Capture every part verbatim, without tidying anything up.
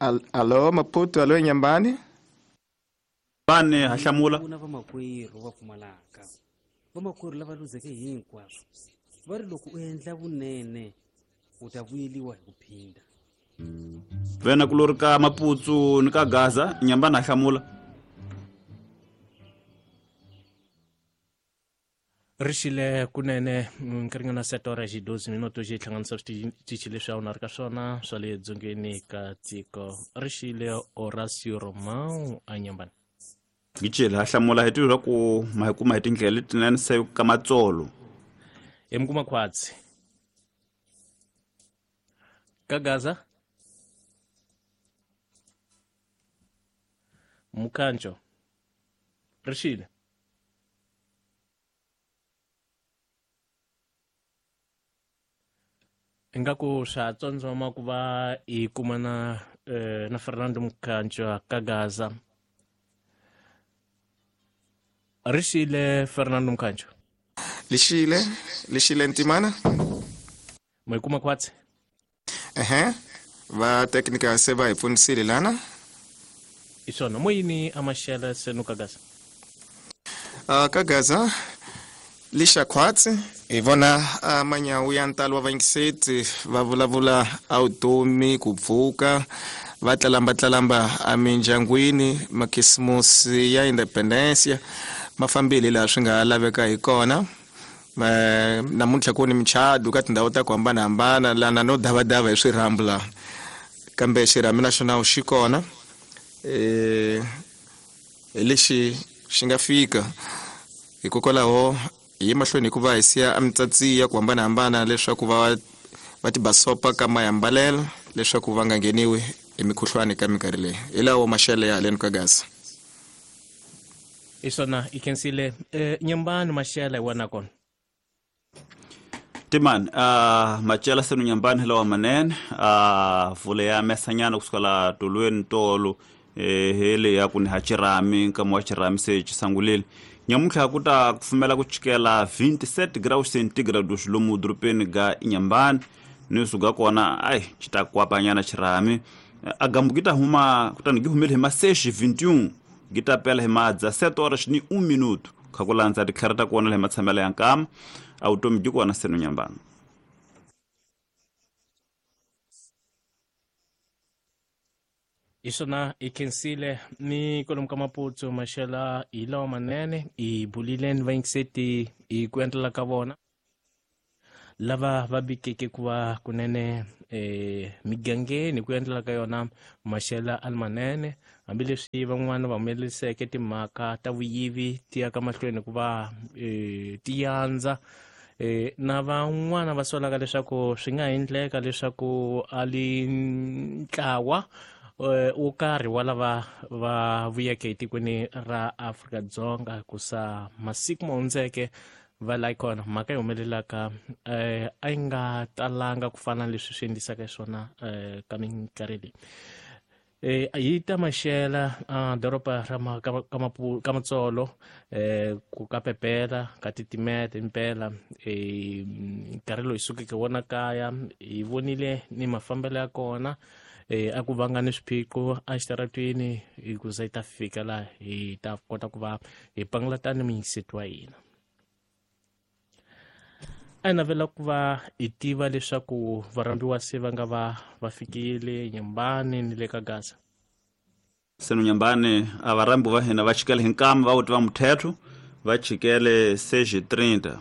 Al alo Maputo, alo Nyambani. Bane hahlamula. Kuna vamakwerhu va pfumalaka. Vamakwerhu lava luzeke hinkwaswo. Va ri loko u endla vunene u ta vuyeliwa hi ku phinda. Vena kulori ka Maputsu ni ka Gaza, Nyambani hahlamula. Rixile kunene nkarhi sete ora hi doze minuto xi hlanganisa switichi leswi a wu na ri ka swona swa le dzongeni ka tiko. Rixile Horacio Romão a Nyambani. Gicele hahlamula hi tiva ku ma hi kuma hi tindlela letinene se ka matsolo. Hi mi kuma khwatsi. Ka Gaza Mukhancho. Rixile. Ingaku swa tsondzoma ku va hi kumana eh, na Fernando Mukhancho ka Gaza. Rixile Fernando Mukhancho. Lixile, lixile Ntimana. Mo kuma khwatsi. Ehe, va technical se va hi pfunisile lana. Isona mo yini amaxela senu ka Gaza? Uh, ka Gaza lixa khwatsi hi vona uh, manyawu ya ntalo wa vayingiseti va vulavula a vutomi ku pfuka va tlalamba tlalamba emindyangwini makhisimusi ya independencia ma fambile laha swi nga laveka hi kona. Namuntlha ku ni michado ka tindhawu ta ku hambanahambana lana no davadava hi swirhambu laha kambe xirhami naxona xi kona eh hi lexi xi nga fika hikokwalaho hi mahlweni hikuva hi siya emitsatsi ya ku hambanahambana leswaku va va tibasopa ka mayambalelo leswaku va nga ngheniwi hi mikhuhlwani ka minkarhi leyi. Hi lawo maxele ya haleni ka Gaza. Isona i khensile eh, Nyambani maxele hi wena kona. Timani uh, macela senu Nyambani lawa manene uh, vule ya mesanyana kusuka la tolweni tolo eh, hele ya ku ni ha xirhami nkama wa xirhami se xi sangulile. Nyamuntlha ku ta kufumela ku chikela vinte e sete graus centígrados lomu dorobeni ga Nyambani ni suka kona ai xi ta kwapanyana xirhami a gambu gi ta huma kutani gi humile hi ma seis vinte e um gi ta pela hi ma dezessete horas ni um minuto kha ku landza titlhari ta kona le matshamelo ya nkama a vutomi byi kona senu Nyambani. Isona i khensile ni kwalomu ka Maputsu maxela hi lawa manene hi bulile ni vayingiseti hi ku endlela ka vona lava va bikeke ku va kunene eh, migangeni ku endlela ka yona maxela a li manene hambileswi van'wana va humeleriseke timhaka ta vuyivi ti ya ka mahlweni ku va eh, ti yandza eh, na van'wana va solaka leswaku swi nga endleka leswaku a li ntlawa wo karhi wa lava va vuyeke etikweni ra Afrika-Dzonga ku sa masiku ma hundzeke va la kona mhaka yi humelelaka eh, a yi nga talanga ku fana na leswi swi endlisaka swona eh, ka minkarhi leyi. Eh, hi ta maxela uh, doroba ra ma, ka, ka, ka Matsolo eh, ku ka pepela ka titimeta impela eh, nkarhi lowu hi sukeke wona kaya hi vonile ni mafambelo ya kona eh, a ku vanga ni swiphiqo exitaratweni hi ku za hi ta fika laha hi ta kota ku va hi pangulata ni muyingiseti wa hina. A hi navela ku va hi tiva leswaku varhambiwa se va nga va va fikile Nyambani ni le ka Gaza. Senu Nyambani a varhambi va hina va chikele hi nkama va wuti va muthetho va chikele seis e trinta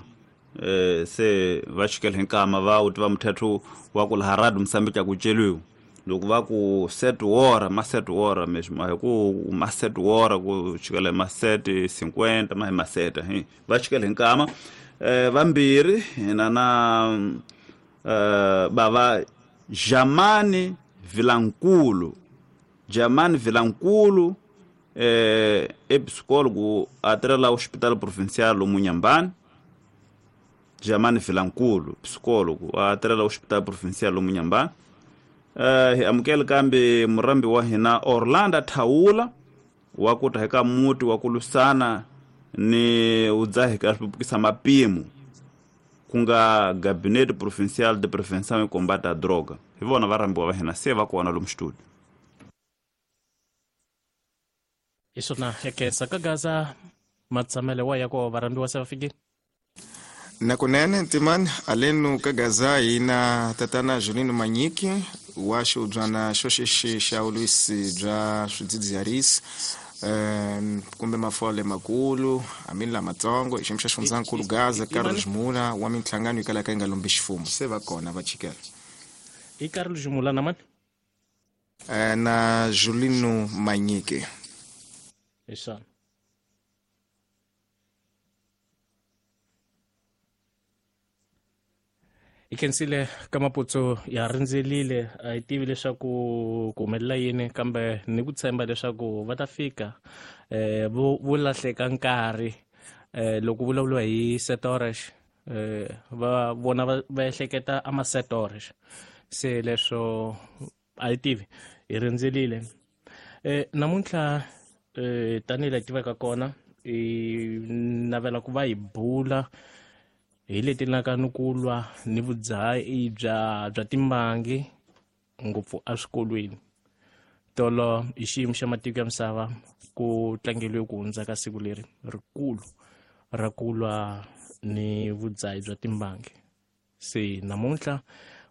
eh, se va chikele hi nkama va wuti va muthetho wa ku laha radio Mozambique ku celiwa loko va ku sete hora ma sete hora mesmo hi ku ma sete hora ku chikele ma sete cinquenta ma hi ma sete hi va chikele hi nkama eh, vambirhi hina na eh, bava Jamani Vilankulu Jamani Vilankulu eh, é psicólogo atrela Hospital Provincial lomu Nyambani. Jamani Vilankulu psicólogo atrela Hospital Provincial lomu Nyambani. Eh, hi amukela kambe murambi wa hina Orlando Thaula wa ku ta eka muti wa ku lwisana ni udzahi ka swipupukisa mapimo ku nga Gabinete Provincial de Prevenção e Combate à Droga. Hi vona varhambiwa va hina se va kona lomu studio. Hi swona ya khensa ka Gaza matshamele wa ya ko varhambiwa se va fikile. Nakunene ntimani alenu ka Gaza hina tatana Julino Manyiki wa xiubyana xo xexi xa vulwisi bya swidzidziharisi um kumbe mafole makulu hambi lamatsongo hi xiyimo xa xifundzankulu Gaza Carlos Mula wa minhlangano yi kalaka yi nga lombi ximfumo se va kona va chikela. I Carlos Mula na mani? Na Julino Manyiki. Hi swona. Hi khensile ka maputsu ya rindzelile a hi tivi leswaku ku humelela yini kambe ni ku tshemba leswaku va ta fika eh vo vo lahleka nkarhi eh loko vulavuriwa hi setoresh eh va vona va ehleketa a masetoresh se leswo a hi tivi hi rindzelile. Eh namuntlha eh tanihi laha tivaka kona hi navela ku va hi bula hi leti laka ni ku lwa ni vudzahi bya bya timbangi ngopfu eswikolweni. Tolo hi xiyimo xa matiko ya misava ku tlangeriwe ku hundza ka siku leri rikulu ra ku lwa ni vudzahi bya timbangi. Se namuntlha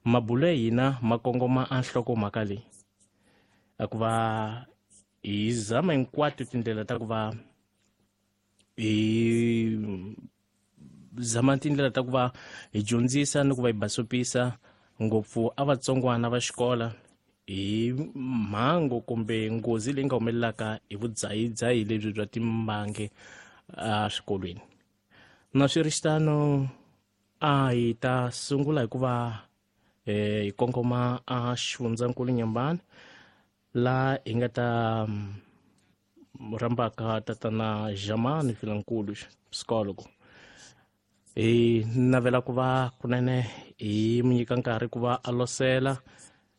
mabulo ya hina ma kongoma a nhlokomhaka leyi a ku va hi zama hinkwato tindlela ta ku va hi zama tindlela ta ku va hi dyondzisa ni ku va hi basopisa ngopfu a vatsongwana va xikola hi mhangu kumbe nghozi leyi nga humelelaka hi vudzahidzahi lebyi bya timbangi eswikolweni. Na swi ri xitano a hi ta sungula hi ku va hi kongoma a xifundzankulu Nyambani laha hi nga ta rhambaka tatana Jamani Vilankulu psikologo. Hi navela ku va kunene hi mi nyika nkarhi ku va a losela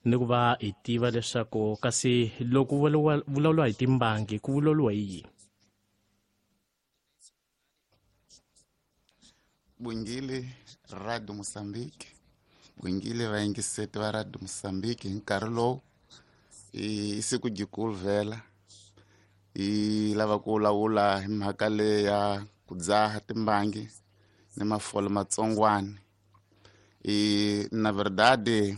ni ku va hi tiva leswaku kasi loko vulavuriwa hi timbangi ku vulavuriwa hi yini. Bungile Radio Mozambique, bungile vayingiseti va Radio Mozambique hi nkarhi lowu i siku jikulu vhela hi lava ku vulavula hi mhaka leyi ya ku dzaha timbangi ni mafole matsongwani. I na verdade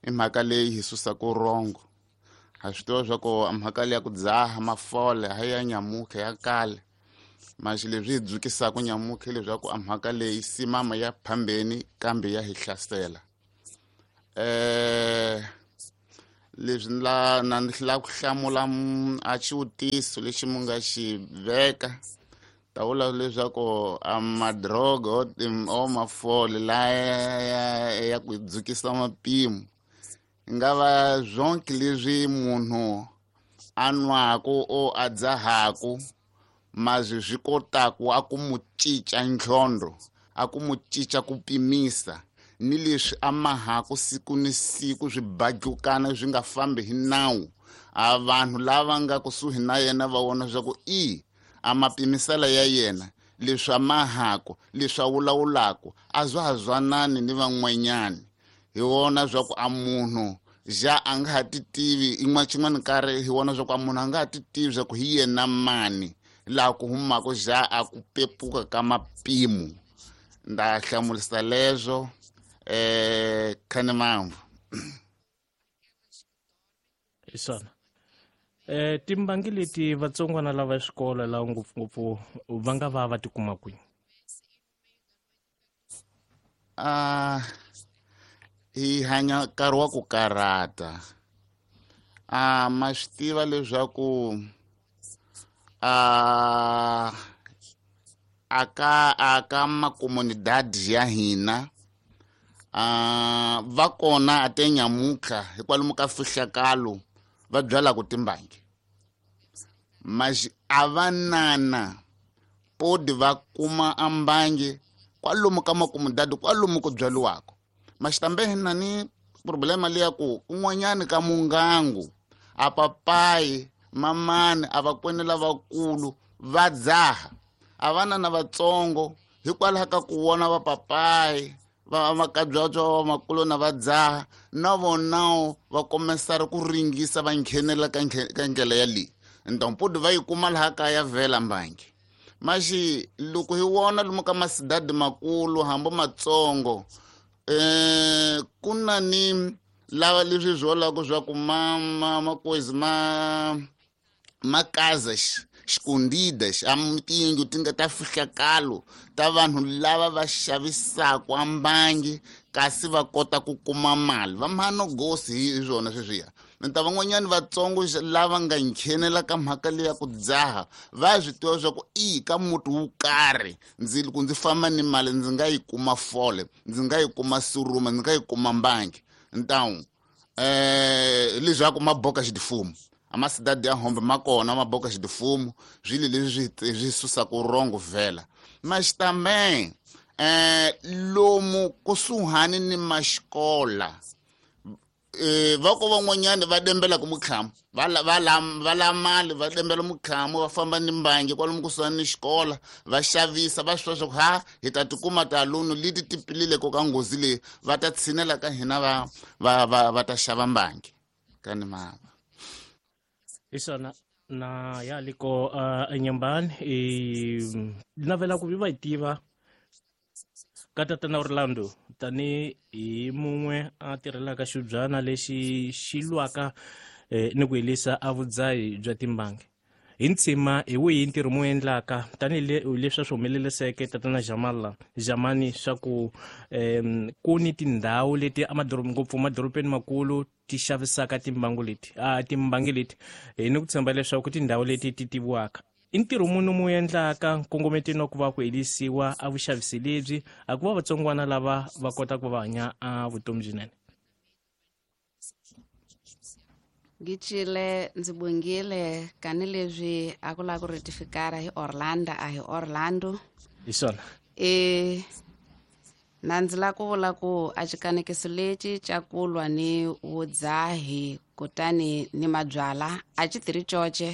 i mhaka leyi hi susaka rongo. Ha swi tiva swa ku mhaka leyi ya ku dzaha mafole ha ya nyamuka ya kale maxi leswi hi dzukisaka nyamuka leswaku a mhaka leyi simama ya phambeni kambe ya hi hlasela. Eh leswi la na ni la ku hlamula a xivutiso lexi mu nga xi veka ta vula leswaku a madroga o mafole laya ya ku dzukisa mapimo nga va zonke leswi munhu a nwaku o a dzahaku mazwi swi kotaku a ku mu cinca ntlhondro a ku mu cinca ku pimisa ni leswi a mahaku siku ni siku swi badlukana swi nga fambi hi nawu a vanhu lava nga kusuhi na yena va vona swa ku i a mapimisela ya yena leswi a mahaku leswi a vulavulaku a zwa ha zwanani ni van'wanyani hi wona swa ku a munhu ja a nga ha ti tivi in'wana xin'wana nkarhi hi wona swa ku a munhu a nga ha ti tivi swa ku hi yena mani laha ku humaka ja a ku pepuka ka mapimo. Nda hlamulisa leswo eh khane mamvu. Hi swona. Eh timbangi leti vatsongwana lava xikolo laha ngopfungopfu va nga va va tikuma kwihi? Ah hi hanya nkarhi wa ku karata. Ah ma swi tiva leswaku ah aka aka makomunidadi ya hina ah va kona a te nyamuka hikwalomu ka fihlakalo va byalaka timbangi mas a va nana podi va kuma ambangi kwalomu ka makomunidadi kwalomu ku byaliwaka. Mas tambe hina ni problema leya ku kun'wanyani ka mungangu a papayi mamani a vakwene lavakulu va dzaha a vana na vatsongo hikwalaho ka ku vona vapapayi va makabyabya va makulu na va dzaha na vonawo va komesari ku ringisa va nghenela ka ka ndlela ya leyi. Então pode va yi kuma laha kaya vhela mbangi maxi loko hi wona lomu ka masidadi makulu hambi matsongo eh ku na ni lava leswi swi vulaka swa ku ma ma makozi ma ma casas escondidas a tiyindlu ti nga ta fihlakalo ta vanhu lava va xavisaka mbangi kasi va kota ku kuma mali va mhano gosi hi swona sweswiya nta van'wanyani vatsongo lava nga nghenela ka mhaka leya ku dzaha va swi tiva swa ku i ka muti wo karhi ndzi loko ndzi famba ni mali ndzi nga yi kuma fole ndzi nga yi kuma suruma ndzi nga yi kuma mbangi então eh leswaku maboka xidifumo a cidade ya Hombe ma kona maboka xidifumo swilo leswi swi susaka rongo vhela mas também eh lomu kusuhani ni maxikola eh va ko van'wanyani va dembela ku mukhamu va va va la mali va dembela mukhamu va famba ni mbangi kwalomu kusuhani ni xikola va xavisa va swi swa ha hi ta tikuma talunu leti ti pilile ko ka nghozi leyi va ta tshinela ka hina va va va va ta xava mbangi kani mava isona na ya liko uh, enyambani e navela ku va yi tiva ka tatana Orlando tani hi mun'we a tirhelaka xibyana lexi xi lwaka eh, ni ku helisa a vudzahi bya timbangi hi ntshima hi wihi ntirho mu endlaka tanihi leswi swi humeleliseke tatana Jamala Jamani swa ku um ku ni tindhawu leti amadorobeni ngopfu madorobeni makulu ti xavisaka timbangu leti a timbangi leti hi ni ku tshemba leswaku tindhawu leti ti tiviwaka i ntirho munhu mu endlaka nkongometeni wa ku va ku helisiwa a vuxavisi lebyi a ku va vatsongwana lava va kota ku va hanya a vutomi byinene. Ngicile ndzi bongile kani leswi a ku lava ku retifikara hi Orlando a hi Orlando hi swona e na ndzi lava ku vula ku a xikanekiso lexi xa ku lwa ni vudzahi kutani ni mabyala a xi tirhi coce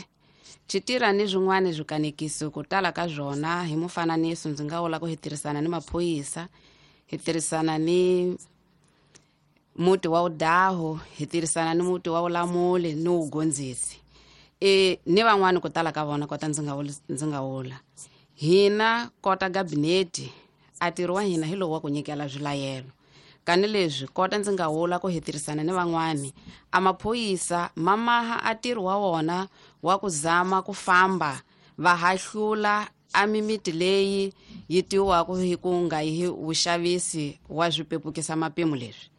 xi tirha ni swin'wana swikanekiso ku tala ka swona hi mufananiso ndzi nga vula ku hi tirhisana ni maphorisa hi tirhisana ni muti wa udaho hi tirhisana ni muti wa ulamuli ni ugondzisi e ni van'wani ku tala ka vona kota ndzi nga ndzi nga vula hina kota gabineti a ntirho wa hina hi lowu wa ku nyikela swilayelo kani leswi kota ndzi nga vula ku hi tirhisana ni van'wani a maphorisa ma maha a ntirho wa wona wa ku zama ku famba va hahlula a mimiti leyi yi tiwiwaka hi ku nga hi vuxavisi wa swipepukisa mapimo leswi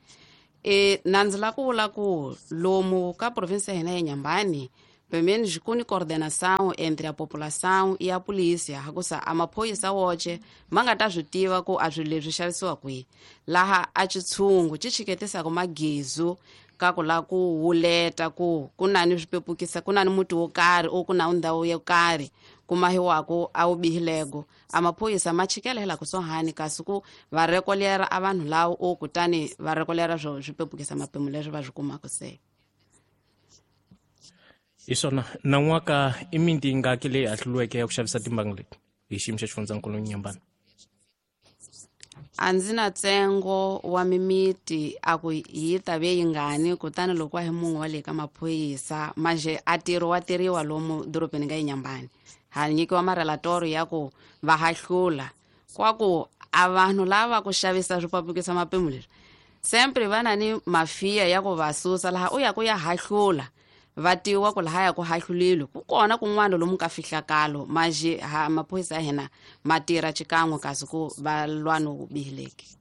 e na ndzi lava ku vula ku lomu ka province ya hina ya Nyambani pelo menos ku ni coordenação entre a população e a polícia hakusa a maphorisa woce ma nga ta swi tiva ku a swilo leswi xavisiwa kwihi laha a xitshungu xi chiketisaka magezu ka ku lava ku wuleta ku ku na ni swipepukisa ku na ni muti wo karhi o ku na ndhawu yo karhi ku mahiwaka a wu bihilego a maphorisa ma chikela hi la kusuhani kasi ku va rekolera a vanhu lava o kutani va rekolera swo swipepukisa mapimo leswi va swi kumaka se hi swona nan'waka i miti yingaki leyi hahluriweke ya ku xavisa timbangi leti hi xiyimo xa xifundzankulu Nyambani? A ndzi na ntsengo wa mimiti a ku yi ta ve yingani kutani loko wa hi mun'we wa le ka maphorisa manje a ntirho wa tirhiwa lomu dorobeni ka Inyambani ha nyikiwa marelatori ya ku va hahlula kwa ku a vanhu lava ku xavisa swipapukisa mapimo leswi sempre va na ni mafiya ya ku va susa laha u ya ku ya hahlula va tiwa ku lahaya ku hahlulile ku kona kun'wana lomu ka fihlakalo manje ha maphorisa ya hina ma tirha xikan'we kasi ku va lwa no bihileki.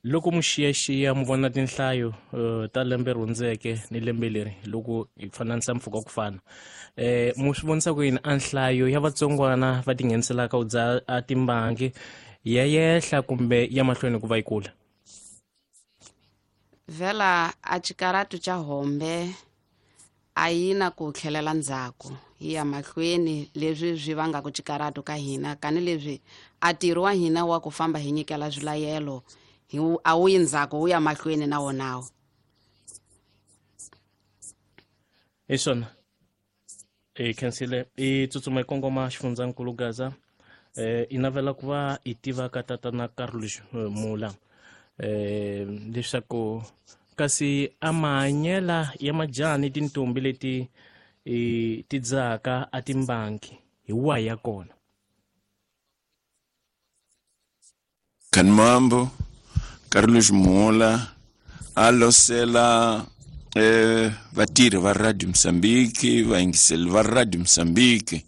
Loko mu xiyaxiya mu vona tinhlayo uh, ta lembe ri hundzeke ni lembe leri loko hi fananisa mpfhuka ku fana eh mu swi vonisa ku yini a nhlayo ya vatsongwana va tingheniselaka u dzaha a timbangi ya yehla kumbe ya mahlweni ku va yi kula? Vhela a xikaratu xa Hombe a yi na ku tlhelela ndzhaku yi ya mahlweni leswi swi vangaka xikaratu ka hina kani leswi a ntirho wa hina wa ku famba hi nyikela swilayelo hi a wu yi ndzhaku wu ya mahlweni na wonawo. Hi swona e khensile i tsutsuma hi kongoma xifundzankulu Gaza eh i navela ku va i tiva ka tatana Carlos Mula eh leswaku kasi a mahanyela ya majaha ni tintombi leti e ti dzahaka a timbangi hi wahi ya kona? Kanmambo Carlos Mola alosela eh, vatirhi va Radio Mozambique, vayingiseli va Radio Mozambique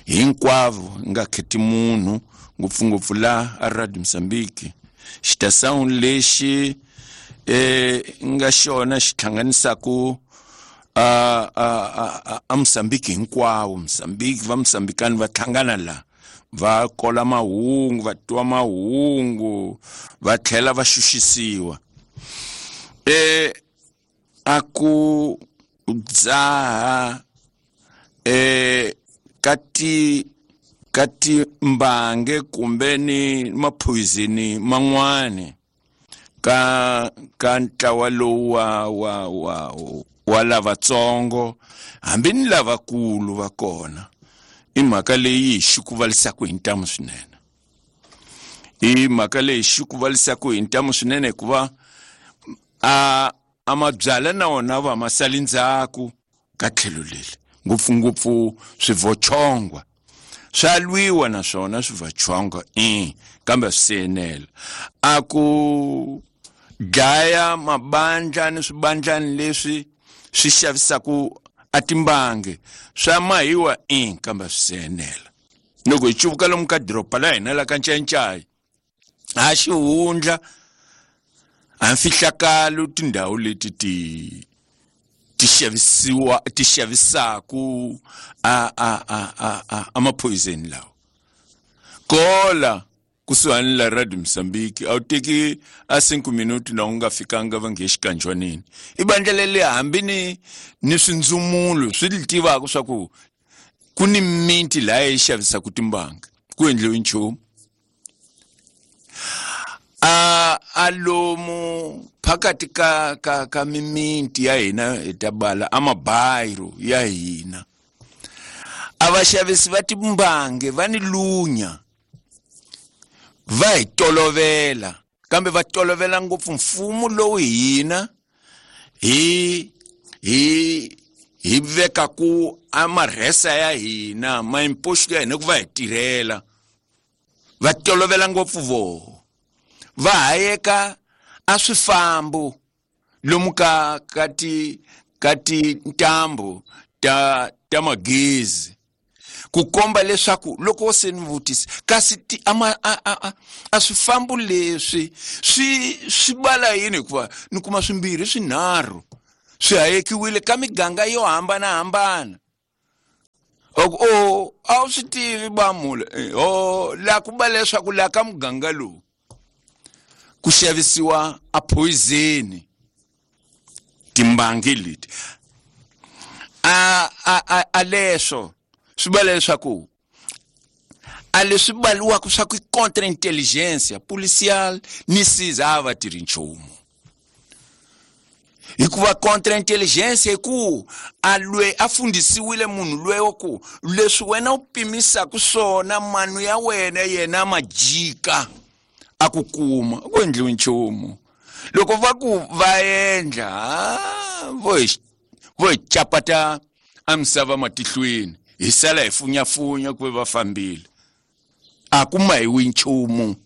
hinkwavo, nga kheti munhu, ngopfungopfu la a Radio Mozambique. Xitação lexi eh, nga xona xi hlanganisaku a a a a Mozambique hinkwawo. Mozambique va Mozambikani va hlangana la, va kola mahungu, va twa mahungu, va tlhela va xuxisiwa. Eh a ku dzaha eh ka ti ka timbange kumbe ni mapoison man'wani ka ka ntlawa lowu wa wa wa wa lavatsongo hambi ni lavakulu va kona, i mhaka leyi hi xikuvalisaka hi ntamu swinene. I mhaka leyi xikuvalisaka hi ntamu swinene hikuva a a mabyala na wona va ma sali ndzhaku ka tlhelo leri, ngopfungopfu swivochongwa swa lwiwa na swona swivochongwa i kambe swi enela. A ku dlaya mabandla ni swibandlani leswi swi xavisaku a timbangi swa mahiwa i kambe swi enela. Loko hi cuvuka lomu ka doroba la hina la ka Ncayincaya a xihundla a mfihlakalo tindhawu leti ti ti xavisiwa ti xavisaku a a a a a a mapoison lawa kola kusuhani la Radio Mozambique a wu teki a cinco minuti na u nga fikanga va nge xikanjwanini. I bandla leri hambi ni ni swindzumulo swi li tivaka swa ku ku ni miti laha yi xavisaka timbanga ku endliwi nchumu. A a lomu phakathi ka ka ka mimiti ya hina hi ta bala a mabayiro ya hina a vaxavisi va timbange va ni lunya, va hi tolovela, kambe va tolovela ngopfu mfumo lowu hina hi hi hi vekaku a marhesa ya hina ma imposto ya hina ku va hi tirhela, va tolovela ngopfu voho, va hayeka a swifambo lomu ka ka ti ka tintambu ta ta magezi ku komba leswaku loko se ni vutisa kasi ti ama a a a swifambo leswi swi swi bala yini, hikuva ni kuma swimbirhi swinharhu swi hayekiwile ka miganga yo hambanahambana. O a wu swi tivi bamula o la ku ba leswaku la ka muganga lowu ku xavisiwa a poison timbangi leti a a a leswo swi ba leswaku a leswi baliwaka swa ku contre intelligence policial ni siza a va tirhi nchumu, hikuva contre intelligence ku a lwe a fundisiwile munhu lweyo ku leswi wena u pimisaka swona manu ya wena yena majika a ku kuma ku endliwi nchumu. Loko va ku va endla vo hi vo hi chapata a misava matihlweni hi sala hi funyafunya ku va fambile a ku mahiwi nchumu.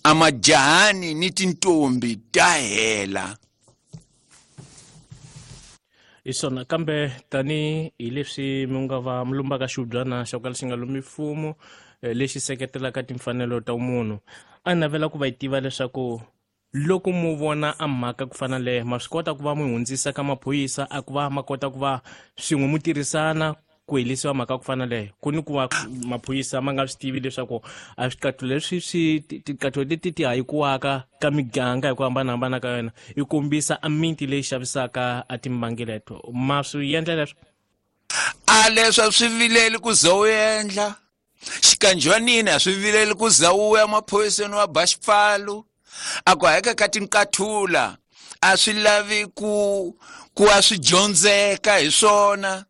A majahani ni tintombi ta hela. Hi swona kambe tani hi leswi mi nga va mi lumbaka xihubyana xa ku kala xi nga lumi mfumo lexi seketelaka timfanelo ta munhu, a navela ku va yi tiva leswaku loko mu vona a mhaka ku fana leyo ma swi kota ku va mu hundzisa ka maphorisa a ku va ma kota ku va swin'we mu tirhisana ku helisiwa mhaka ku fana leyo, ku ni ku va maphorisa ma nga swi tivi leswaku a swiqathulo leswi swi tiqathulo leti ti hayikiwaka ka miganga hi ku hambanahambana ka yona yi kombisa a miti leyi xavisaka a timbangi leto, ma swi endla leswo? A leswo swi vileli ku ze u endla xikanjwanini, a swi vileli ku za u ya maphoriseni wa ba xipfalo, a ku hayeka ka tinqathula a swi lavi ku ku a swi dyondzeka hi swona.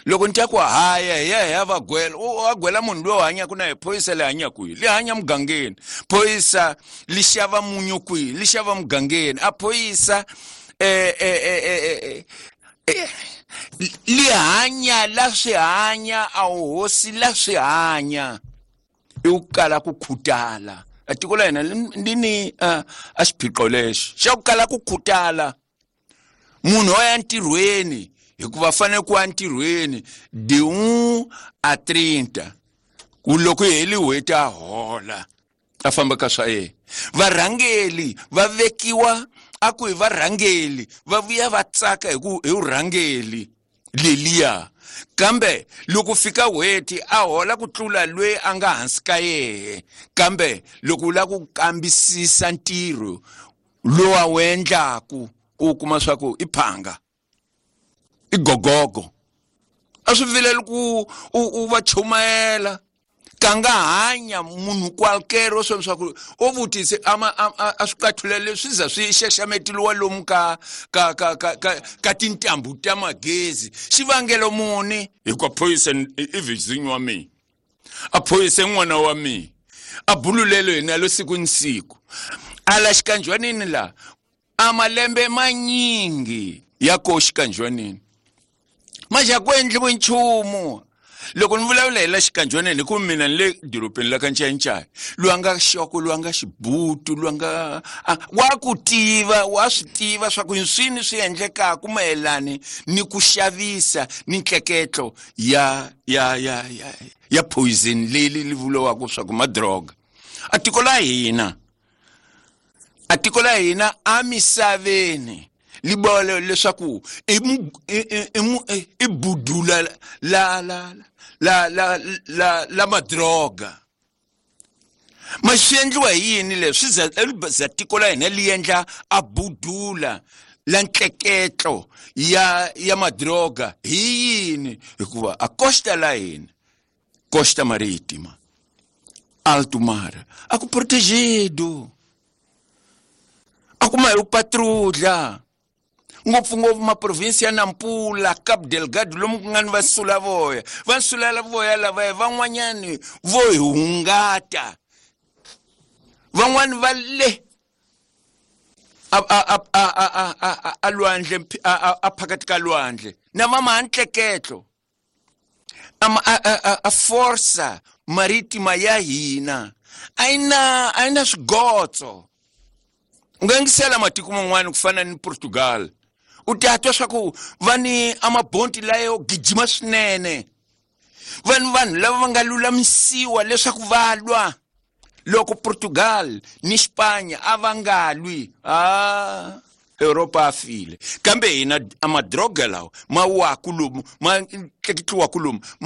Loko ni twa ku haya hi ya hi ya va gwela, u a gwela munhu loyi hanyaka na hi phorisa le hanyaka kwihi, li hanya mugangeni, phorisa li xava munyu kwihi, li xava mugangeni, a phorisa eh eh eh eh li hanya hanya la swi hanya a wu hosi la swi hanya i ku kala ku khutala. A tiko la hina li ni a xiphiqo lexi xa ku kala ku khutala. Munhu wa ya ntirhweni hikuva fanele ku ya ntirhweni de un a trinta ku loko yi heli n'hweti a hola a famba ka swa yena. Varhangeli va vekiwa a ku hi varhangeli va vuya va tsaka hi ku hi vurhangeli leliya, kambe loko fika n'hweti a hola ku tlula loyi a nga hansi ka yehe. Kambe loko u lava ku kambisisa ntirho lowu a wu endlaku u kuma swa ku i phanga i gogogo a swi vileli ku u va chumayela ka nga hanya munhu qualquer swo swa ku o vutise ama a swi qathulele swi za swi xaxametiwa lomu ka ka ka ka ka tintambu ta magezi. Xivangelo muni hikuva poison i vizinyo wa mina a poison n'wana wa mina a bululelo hina lo siku ni siku ala xikanjwanini la a malembe manyingi ya ko xikanjwanini manje a ku endliwi nchumu. Loko ni vulavula hi la xikanjwanini hi ku mina ni le dorobeni la ka Ncayincaya loyi a nga xoko loyi a nga xibutu loyi a nga wa ku tiva wa swi tiva swa ku swini swi endlekaka mayelani ni ku xavisa ni ntleketlo ya ya ya ya ya poison leyi li vuriwaka swa ku madroga. A tiko la hina a tiko la hina amisaveni libolo leswaku i i budula la la la la la la madroga. Ma swi endliwa hi yini leswi swi za tiko la hina li endla a budula la ntleketlo ya ya madroga hi yini? Hikuva a costa la hina costa marítima alto mar a ku protegido a ku ma hi patrulha ngopfungopfu maprovinsi ya Nampula, Cabo Delgado lomu ku nga ni vasulavoya vasulavoya lavaya van'wanyani vo hi hungata van'wani va le a a a a a a lwandle a phakathi ka lwandle na va maantleketlo a a a força marítima ya hina a yi na a yi na swigotso. U nga yingisela matiko man'wana ku fana ni Portugal u ta twa swa ku va ni amabonti layo gijima swinene vanhu vanhu lava va nga lulamisiwa leswaku va lwa. Loko Portugal ni Spanya a va nga lwi a Europa a file, kambe hina a madroga lawa ma waku lomu ma tleketliwaku lomu